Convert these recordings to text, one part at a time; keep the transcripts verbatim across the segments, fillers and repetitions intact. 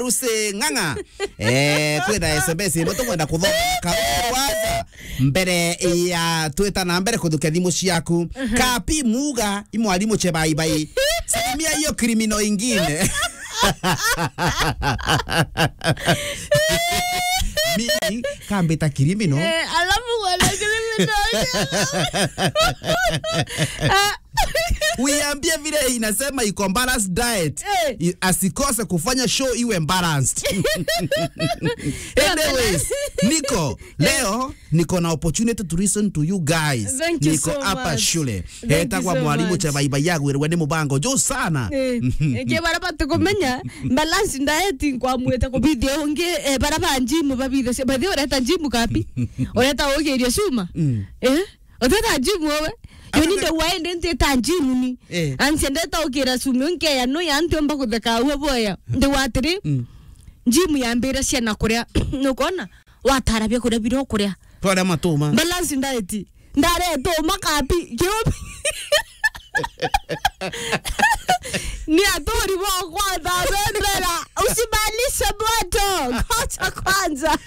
Rusi Ng'ang'a. Eh, kwina S M S imwe tukwenda kuthoma karuaza mbere ya twita na mbere kuthukia thimu ciaku. Kapi Muga, i mwalimu Chebaibai. Salimia hiyo criminal ingine. Mimi kambita criminal. Eh, alafu wana criminal. Ah. Uiambie vile inasema iko balanced diet. Eh. I-, asikose kufanya show iwe balanced. Anyways, niko, leo niko na opportunity to listen to you guys. Thank you so much. Niko hapa shule. Thank you so much. Etagwa mwalimu Chebaibai, yagwirwe ni mubango juu sana. Eh, ingi bara batikumenya, balanced diet nkwamwite kubithia ungi, eh, bara ba gym babithe cia, bathi ureta gym kapi. Ureta ugiria cuma. Mm. Eh? Uteta gym wewe? Yo ni nde waende ntita gym ni. Eh. Ansi ndeta ukira cuma unkeya no ya ntiomba kutheka uwe boya. Nde watiri. Mm. Gym yambira ciana kuria. Nukona? Watara bia kuria bira kuria. Twaria matuma. Balance diet. Ndare tuma kapi. Kiubi. Ni aturi bo kwanza bendera. Usimalishe moto. Kocha kwanza.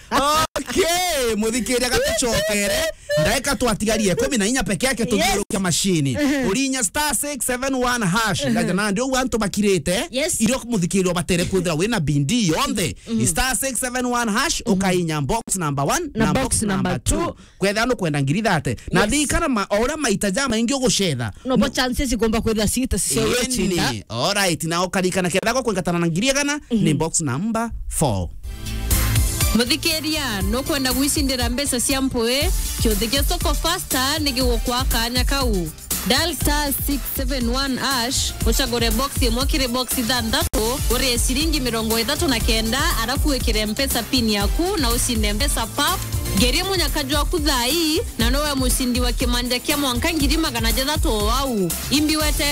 Okay, muthikiria gatucokere. Ndaika twatigarie ikumi na inya peke yake tuthiurukia mashini. Urinya star six seven one hash. Ngaja na ndio antu bakirite. Yes. Irio muthikiria batere kwithira wina bindi yonthe. Star six seven one hash, ukainya box number one na box number two. Kwethira nukwenda ngiri thate. Na thikana ma, o uria maita jamaingi ugucetha. No bo chances ikomba kwethira cita cio. Eni, cita. Alright, na ukarikana ketha gwa kwingatana na ngiri igana, ni box number four. Muthikiria, nukwenda gwicindira mbeca cia mpui? Kiuthi gia Soko Faster ni gigukwa kanya kau. Dial star six seven one hash, ucagure box imwe kiri box ithanthatu, urie ciringi mirongo ithatu na kenda, arafu wikire mpesa pin yaku na ucinde mbeca pap. Ngerie munyaka jwaku thaa ii, na nowe mucindi wa kimanja kia mwanka ngiri magana jathatu o wau. Imbi wete